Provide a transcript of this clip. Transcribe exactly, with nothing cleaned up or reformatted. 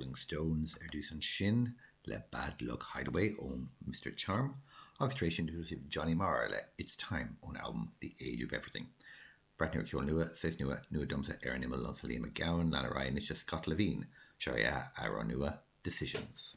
Rolling Stones ar dtús ansin le Bad Luck Hideaway ón Mister Charm agus tar éis sin sibh Johnny Marr le It's Time ón albam The Age of Everything. Breathnú ar ceol nua, saghas nua, nua domsa ar an imeall liomsa Liam Mac Gabhann, lean ar aghaidh anois Scott Levine, seo é a amhrán nua Decisions.